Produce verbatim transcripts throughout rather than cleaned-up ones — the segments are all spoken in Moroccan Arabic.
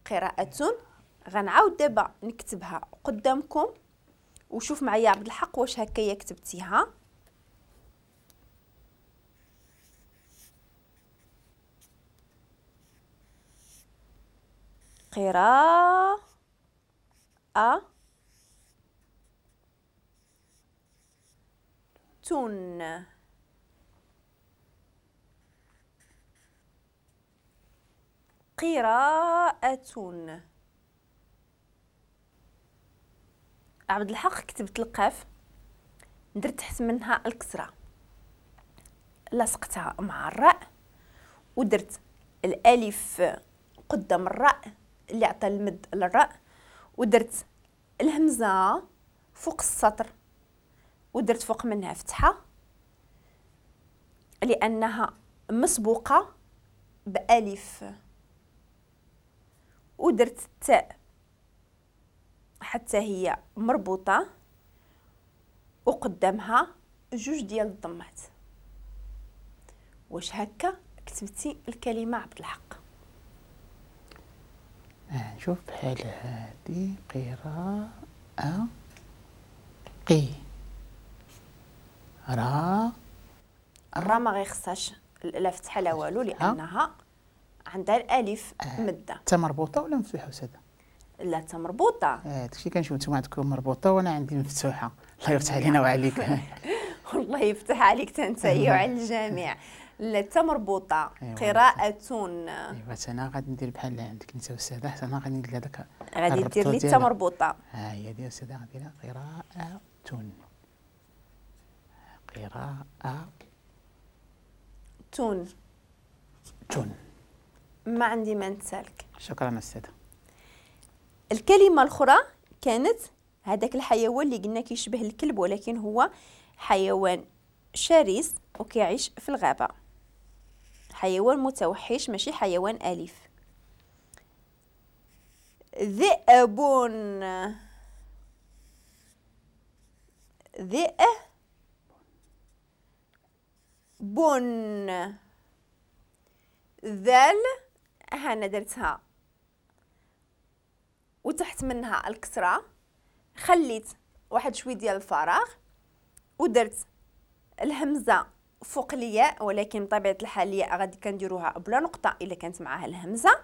قراءة. غنعاود دابا نكتبها قدامكم وشوف معايا عبد الحق واش هكايا كتبتيها. قراءة تون. قراءة. عبد الحق كتبت القاف، درت تحت منها الكسرة، لصقتها مع الراء، ودرت الالف قدام الراء اللي عطى المد للراء، ودرت الهمزة فوق السطر، ودرت فوق منها فتحة لأنها مسبوقة بألف، ودرت التاء حتى هي مربوطة وقدامها جوج ديال الضمات. واش هكا كتبتي الكلمة عبد الحق؟ آه نشوف بحال هادي قراءة قي را. الرا ما غيخصهاش لا فتحة لا والو لأنها عندها الألف آه. مدة. تا مربوطة ولا مفتوحة أستاذة؟ لا تا مربوطة. آه داكشي كنشوف نتوما عندكم مربوطة وأنا عندي مفتوحة. الله يفتح علينا وعليك. والله يفتح عليك تا انت وعلى الجميع. لا تا مربوطة. أيوة. قراءة. ايوا انا غادي ندير بحال عندك انت أستاذة، حتى انا غادي ندير هذاك. غادي دير لي تا مربوطة. ها هي ديال أستاذة، غنديرها قراءة. قراءة تون. تون. ما عندي ما نتسالك. شكرا أستاذة. الكلمة الأخرى كانت هذاك الحيوان اللي قلنا كيشبه الكلب ولكن هو حيوان شرس وكيعيش في الغابة، حيوان متوحش ماشي حيوان أليف. ذئب. ذئب. ذال هانا درتها وتحت منها الكسرة، خليت واحد شوي ديال الفراغ ودرت الهمزة فوق الياء، ولكن بطبيعة الحال الياء غادي كنديروها بلا نقطة إلا كانت معاها الهمزة،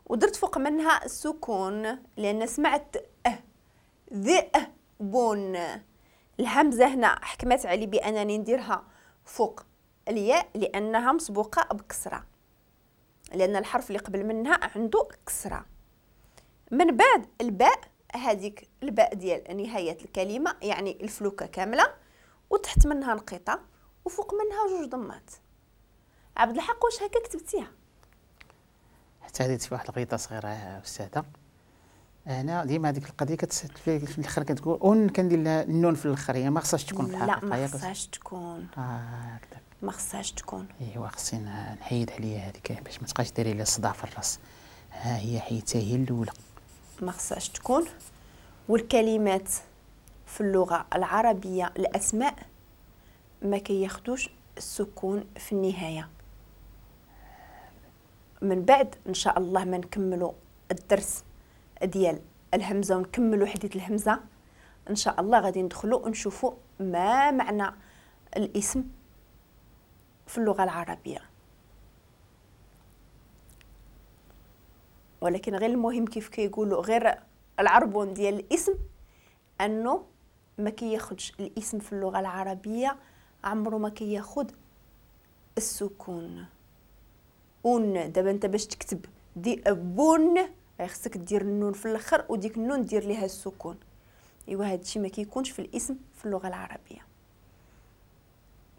ودرت فوق منها السكون لأن سمعت أه ذئب. الهمزة هنا حكمت علي بأنني نديرها فوق الياء لأنها مسبوقة بكسرة، لأن الحرف اللي قبل منها عنده كسرة. من بعد الباء، هذيك الباء ديال نهاية الكلمة يعني الفلوكة كاملة، وتحت منها نقيطة وفوق منها جوج ضمات. عبد الحق واش هكا كتبتيها؟ حتى هذه في واحد الغيطة صغيرة أستاذة. أنا ديما هذيك القضية كتسد في الآخر كتقول أون، كندير لها النون في الآخر، هي ما خصهاش تكون في الحقيقة. لا ما خصهاش تكون. آه هكذا ما خصهاش تكون. ايوا خصني نحيد عليا هذيك باش ما تبقاش ديري لي الصداع في الراس. ها هي حيدتها هي الأولى. ما خصهاش تكون. والكلمات في اللغة العربية الأسماء ما كياخدوش السكون في النهاية. من بعد إن شاء الله ما نكملوا الدرس ديال الهمزة ونكملوا حديث الهمزة إن شاء الله، غادي ندخلوا ونشوفوا ما معنى الاسم في اللغة العربية. ولكن غير المهم كيف كيقولوا غير العربون ديال الاسم أنه ما كياخدش الاسم في اللغة العربية، عمره ما كياخد السكون. اون دابا انت باش تكتب ذئب خصك دير النون في الاخر وديك النون دير ليها السكون. ايوا هادشي ما كيكونش في الاسم في اللغة العربية.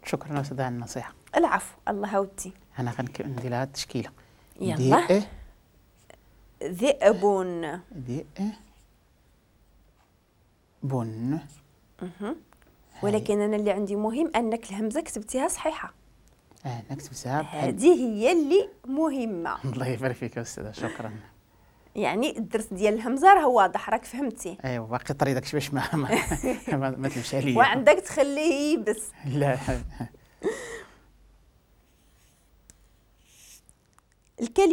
شكرا استاذ على النصيحة. العفو، الله ودي. انا غندير لها التشكيلة. يلا. ذئب. ذئب. ولكن انا اللي عندي مهم انك الهمزة كتبتيها صحيحه. اه انا كتبتها. هذه هي اللي مهمة. الله يبارك فيك استاذه، شكرا. يعني الدرس ديال الهمزة راه واضح، راك فهمتي. ايوا باقي طري داكشي باش ما ما, ما, ما تمشي عليا وعندك تخليه يبس. لا. الكلمة